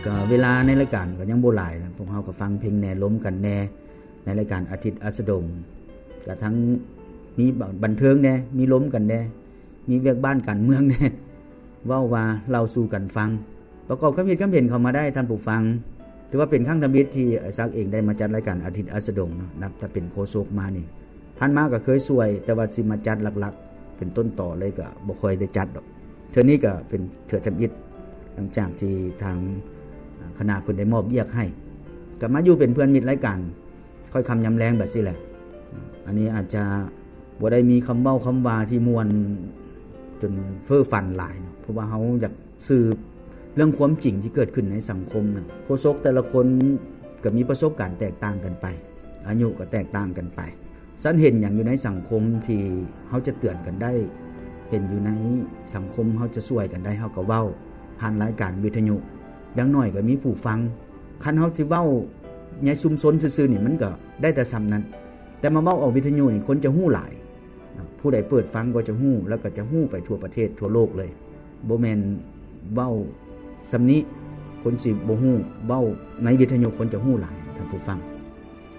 ກໍເວລາໃນລາຍການກໍຍັງບໍ່ຫຼາຍນະ, ພວກເຮົາກໍຟັງເພງແດ່ ລົມກັນແດ່ ໃນລາຍການອາທິດອັສດະດົງ ກໍທັງມີບັນເທີງແດ່ ມີລົມກັນແດ່ ມີວຽກບ້ານການເມືອງແດ່ ເວົ້າວ່າເລົ່າສູ່ກັນຟັງ ປະກອບຄຳຄິດຄຳເຫັນເຂົ້າມາໄດ້ທ່ານຜູ້ຟັງ. ຖືວ່າເປັນຄັ້ງທຳອິດທີ່ອ້າຍສັກເອງໄດ້ມາຈັດລາຍການອາທິດອັສດະດົງເນາະ, ນັບແຕ່ເປັນໂຄສົກມານີ້. ຜ່ານມາກໍເຄີຍຊ່ວຍ, ແຕ່ວ່າຊິມາຈັດຫຼັກໆ ເປັນຕົ້ນຕໍເລີຍກໍບໍ່ຄ່ອຍໄດ້ຈັດດອກ. ເທື່ອນີ້ກໍເປັນເທື່ອທຳອິດ ຫຼັງຈາກທີ່ທາງຄະນະເພິ່ນໄດ້ມອບວຽກໃຫ້, ກໍມາຢູ່ເປັນເພື່ອນມິດລາຍການ ຄ່ອຍຄ່ຳຍາມແລງແບບຊີ້ແຫຼະ. ອັນນີ້ອາດຈະບໍ່ໄດ້ມີຄຳເວົ້າຄຳວ່າທີ່ມ່ວນຈົນເຟີ້ຝັນຫຼາຍເນາະ, ເພາະວ່າເຮົາຢາກສືບເລື່ອງຄວາມຈິງທີ່ເກີດຂຶ້ນໃນສັງຄົມນະ. ໂຄສົກແຕ່ລະຄົນກໍມີປະສົບການແຕກຕ່າງກັນໄປ, ອາຍຸກໍແຕກຕ່າງກັນໄປ. ຊັ້ນເຫັນຫຍັງຢູ່ໃນສັງຄົມທີ່ເຮົາຈະເຕືອນກັນໄດ້, ເຫັນຢູ່ໃນສັງຄົມເຮົາຈະຊ່ວຍກັນໄດ້, ເຮົາກໍເວົ້າຜ່ານລາຍການວິທະຍຸ, ຢ່າງໜ້ອຍກໍມີຜູ້ຟັງ. ຄັນເຮົາຊິເວົ້າໃນຊຸມຊົນຊື່ໆນີ້ ມັນກໍໄດ້ແຕ່ສ່ຳນັ້ນ, ແຕ່ມາເວົ້າອອກວິທະຍຸນີ້ ຄົນຈະຮູ້ຫຼາຍເນາະ, ຜູ້ໃດເປີດຟັງກໍຈະຮູ້ ແລ້ວກໍຈະຮູ້ໄປທົ່ວປະເທດທົ່ວໂລກເລີຍ. ບໍ່ແມ່ນເວົ້າສ່ຳນີ້ ຄົນຊິບໍ່ຮູ້, ເວົ້າໃນວິທະຍຸຄົນຈະຮູ້ຫຼາຍ ທ່ານຜູ້ຟັງ.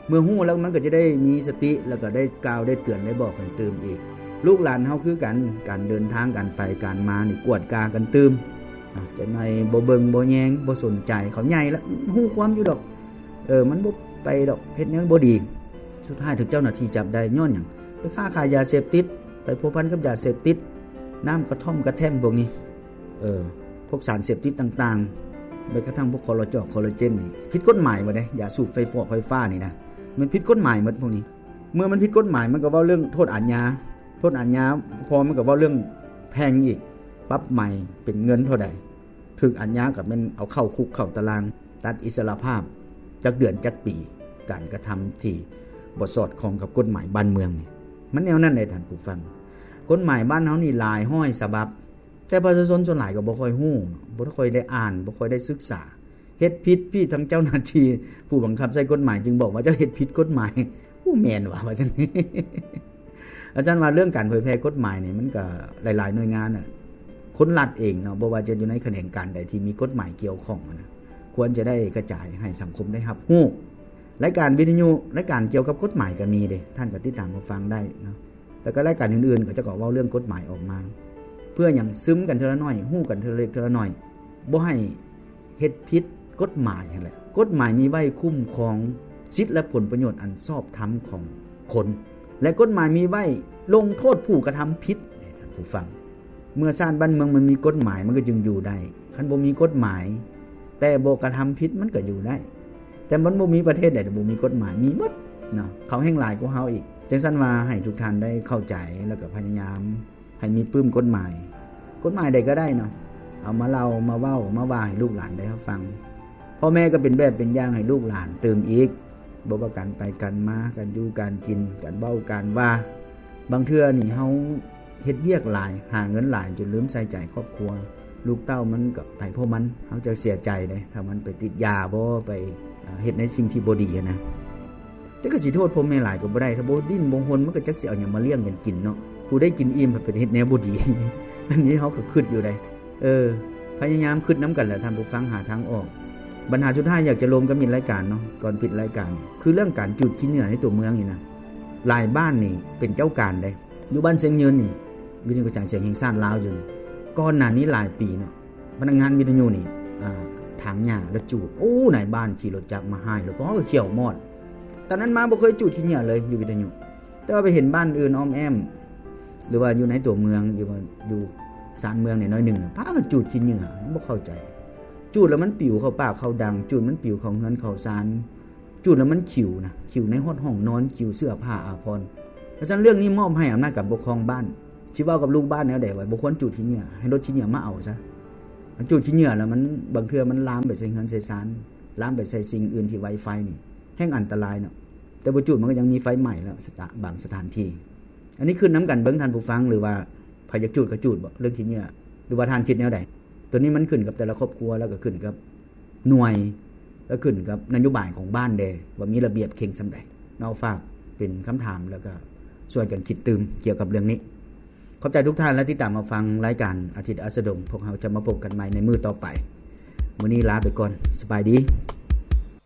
ເມື່ອຮູ້ແລ້ວມັນກໍຈະໄດ້ມີສະຕິ ແລ້ວກໍໄດ້ກ່າວໄດ້ເຕືອນໄດ້ບອກກັນຕື່ມອີກ. ລູກຫຼານເຮົາຄືກັນ, ການເດີນທາງ ການໄປການມານີ້ກວດກາກັນຕື່ມ. ອາ ຈັກໜ້ອຍບໍ່ເບິ່ງບໍ່ແຍງ ບໍ່ສົນໃຈ, ເຂົາໃຫຍ່ແລ້ວ ຮູ້ຄວາມຢູ່ດອກ, ເອີ ມັນບໍ່ໄປດອກ, ເຮັດແນວນັ້ນບໍ່ດີ. ສຸດທ້າຍຖືກເຈົ້າໜ້າທີ່ຈັບໄດ້ຍ້ອນຫຍັງ? ໄປຄ້າຂາຍຢາເສບຕິດ, ໄປພົວພັນກັບຢາເສບຕິດ, ນ້ຳກະທ່ອມກະແທ່ມພວກນີ້ ເອີ ພວກສານເສບຕິດຕ່າງໆ, ແມ້ກະທັ່ງພວກຄໍລາຈອກ ຄໍລາເຈນນີ້ ຜິດກົດໝາຍໝົດເດ້. ຢາສູບໄຟຟອກໄຟຟ້ານີ້ນະ ມັນຜິດກົດໝາຍໝົດພວກນີ້. ເມື່ອມັນຜິດກົດໝາຍ ມັນກໍເວົ້າເລື່ອງໂທດອາຍາ, ໂທດອາຍາ ພໍມັນກໍເວົ້າເລື່ອງແພງອີກ, ປັບໃໝເປັນເງິນເທົ່າໃດ, ຖືກອາຍາກໍແມ່ນເອົາເຂົ້າຄຸກເຂົ້າຕາລາງ, ຕັດອິດສະຫຼະພາບຈັກເດືອນຈັກປີ, ການກະທຳທີ່ບໍ່ສອດຄ່ອງກັບກົດໝາຍບ້ານເມືອງນີ້ ມັນແນວນັ້ນເດ້ທ່ານຜູ້ຟັງ. ກົດໝາຍບ້ານເຮົານີ້ຫຼາຍຮ້ອຍສະບັບ, ແຕ່ປະຊາຊົນສ່ວນຫຼາຍກໍບໍ່ຄ່ອຍຮູ້, ບໍ່ຄ່ອຍໄດ້ອ່ານ, ບໍ່ຄ່ອຍໄດ້ສຶກສາ. ເຮັດຜິດ, ພີ່, ທາງເຈົ້າໜ້າທີ່ຜູ້ບັງຄັບໃຊ້ກົດໝາຍຈຶ່ງບອກວ່າເຈົ້າເຮັດຜິດກົດໝາຍ. ໂອ້ ແມ່ນຫວາ ວ່າຊັ້ນ. ວ່າຊັ້ນວ່າເລື່ອງການເຜີຍແຜ່ກົດໝາຍນີ້ ມັນກໍຫຼາຍໆໜ່ວຍງານນະ, ຄົນລັດເອງເນາະ, ບໍ່ວ່າຈະຢູ່ໃນຂະແໜງການໃດທີ່ມີກົດໝາຍກ່ຽວຂ້ອງນະ, ຄວນຈະໄດ້ກະຈາຍໃຫ້ສັງຄົມໄດ້ຮັບຮູ້. ລາຍການວິທະຍຸ, ລາຍການກ່ຽວກັບກົດໝາຍກໍມີເດ້, ທ່ານກໍຕິດຕາມຮັບຟັງໄດ້ເນາະ. ແລ້ວກໍລາຍການອື່ນໆ ເຂົາເຈົ້າກໍເວົ້າເລື່ອງກົດໝາຍອອກມາ. ເພື່ອຫຍັງ? ຊຶມກັນເທື່ອລະໜ້ອຍ, ຮູ້ກັນເທື່ອລະເລັກເທື່ອລະໜ້ອຍ, ບໍ່ໃຫ້ເຮັດຜິດກົດໝາຍຫັ້ນແຫຼະ. ກົດໝາຍມີໄວ້ຄຸ້ມຄອງສິດ ແລະ ຜົນປະໂຫຍດອັນຊອບທຳຂອງຄົນ, ແລະ ກົດໝາຍມີໄວ້ລົງໂທດຜູ້ກະທຳຜິດ. ທ່ານຜູ້ຟັງ, ເມື່ອຊາດບ້ານເມືອງມັນມີກົດໝາຍ ມັນກໍຈຶ່ງຢູ່ໄດ້. ຄັນບໍ່ມີກົດໝາຍ ແຕ່ບໍ່ກະທຳຜິດ ມັນກໍຢູ່ໄດ້. ແຕ່ມັນບໍ່ມີປະເທດໃດທີ່ບໍ່ມີກົດໝາຍ, ມີໝົດເນາະ, ເຂົາແຮ່ງຫຼາຍກວ່າເຮົາອີກ. ຈັ່ງຊັ້ນວ່າໃຫ້ທຸກທ່ານໄດ້ເຂົ້າໃຈ ແລ້ວກໍພະຍາຍາມໃຫ້ມີປຶ້ມກົດໝາຍ, ກົດໝາຍໃດກໍໄດ້ເນາະ, ເອົາມາເລົ່າ ມາເວົ້າ ມາວ່າໃຫ້ລູກຫຼານໄດ້ຮັບຟັງ. ພໍ່ແມ່ກໍເປັນແບບເປັນຢ່າງໃຫ້ລູກຫຼານຕື່ມອີກ, ບໍ່ວ່າການໄປການມາ, ການຢູ່ການກິນ, ການເວົ້າການວ່າ. ບາງເທື່ອນີ້ເຮົາ ເຮັດວຽກຫຼາຍ, ຫາເງິນຫຼາຍຈົນລືມໃສ່ໃຈຄອບຄົວ, ລູກເຕົ້າມັນກໍໄປຂອງມັນ. ເຮົາຈະເສຍໃຈເດ້ ຖ້າມັນໄປຕິດຢາບໍ ໄປ ເຮັດໃນສິ່ງທີ່ບໍ່ດີຫັ້ນນະ. ແຕ່ກໍຊິໂທດພໍ່ແມ່ຫຼາຍກໍບໍ່ໄດ້, ຖ້າບໍ່ດີ້ນບໍ່ຮົນ ມັນກໍຈັກຊິເອົາຫຍັງມາລ້ຽງກັນກິນເນາະ. ຜູ້ໄດ້ກິນອີ່ມພັດໄປເຮັດແນວບໍ່ດີ. ອັນນີ້ເຮົາກໍຄິດຢູ່ໃດ. ເອີ ພະຍາຍາມຄິດນຳກັນແຫຼະທ່ານຜູ້ຟັງ, ຫາທາງອອກ. ບັນຫາສຸດທ້າຍຢາກຈະລົມກັບມິດລາຍການເນາະ, ກ່ອນປິດລາຍການ, ຄືເລື່ອງການຈູດຂີ້ເຫຍື້ອໃນຕົວເມືອງນີ້ນະ. ຫຼາຍບ້ານນີ້ເປັນເຈົ້າການເດ້. ຢູ່ບ້ານຊຽງຍືນນີ້ ວິທະຍຸກະຈາຍສຽງແຫ່ງຊາດລາວຢູ່ນີ້, ກ່ອນໜ້ານີ້ຫຼາຍປີເນາະ ພະນັກງານວິທະຍຸນີ້ ອ່າ ຖາງຫຍ້າແລ້ວຈູດ. ໂອ້ ນາຍບ້ານຂີ່ລົດຈັກມາຫາຍລົດ ເພາະເຮົາກໍຂຽວມອດ. ຕອນນັ້ນມາບໍ່ເຄີຍຈູດຂີ້ເຫຍື້ອເລີຍຢູ່ວິທະຍຸ, ແຕ່ວ່າໄປເຫັນບ້ານອື່ນອ້ອມແອ້ມ ຫຼືວ່າຢູ່ໃນຕົວເມືອງ ຫຼືວ່າຢູ່ຊານເມືອງໜ້ອຍໆໜຶ່ງ ພາກັນຈູດຂີ້ເຫຍື້ອ. ບໍ່ເຂົ້າໃຈ, ຈູດແລ້ວມັນປິວເຂົ້າປ່າເຂົ້າດັງ, ຈູດມັນປິວເຂົ້າເຮືອນເຂົ້າຊານ. ຈູດແລ້ວມັນຂິວນະ, ຂິວໃນຮອດຫ້ອງນອນ, ຂິວເສື້ອຜ້າອາພອນ. ເພາະສະນັ້ນເລື່ອງນີ້ມອບໃຫ້ອຳນາດການປົກຄອງບ້ານ, ຊິເວົ້າກັບລູກບ້ານແນວໃດວ່າບໍ່ຄວນຈູດຂີ້ເຫຍື້ອ, ໃຫ້ລົດຂີ້ເຫຍື້ອມາເອົາຊະ. ອັນຈູດຂີ້ເຫຍື້ອແລ້ວມັນ ບາງເທື່ອມັນລາມໄປໃສ່ເຮືອນໃສ່ຊານ, ລາມໄປໃສ່ສິ່ງອື່ນທີ່ໄວໄຟນີ້ ແຮ່ງອັນຕະລາຍເນາະ. ແຕ່ບໍ່ຈູດມັນກໍຍັງມີໄຟໄໝ້ແລ້ວ ສະຕະ ບາງສະຖານທີ່. ອັນນີ້ຂຶ້ນນຳກັນເບິ່ງທ່ານຜູ້ຟັງ, ຫຼືວ່າໃຜຢາກຈູດກໍຈູດບໍ ເລື່ອງຂີ້ເຫຍື້ອ, ຫຼືວ່າທ່ານຄິດແນວໃດ? ຕົວນີ້ມັນຂຶ້ນກັບແຕ່ລະຄອບຄົວ ແລ້ວກໍຂຶ້ນກັບ ໜ່ວຍ ແລະ ຂຶ້ນກັບນະໂຍບາຍຂອງບ້ານແດ່ ວ່າມີລະບຽບເຄັ່ງສ່ຳໃດເນາະ. ຝາກເປັນຄຳຖາມ ແລ້ວກໍຊ່ວຍກັນຄິດຕື່ມກ່ຽວກັບເລື່ອງນີ້. ຂອບໃຈທຸກທ່ານ ແລະ ຕິດຕາມຮັບຟັງລາຍການອາທິດອັສດະດົງ. ພວກເຮົາຈະມາພົບກັນໃໝ່ໃນມື້ຕໍ່ໄປ. ມື້ນີ້ລາໄປກ່ອນ. ສະບາຍດີ.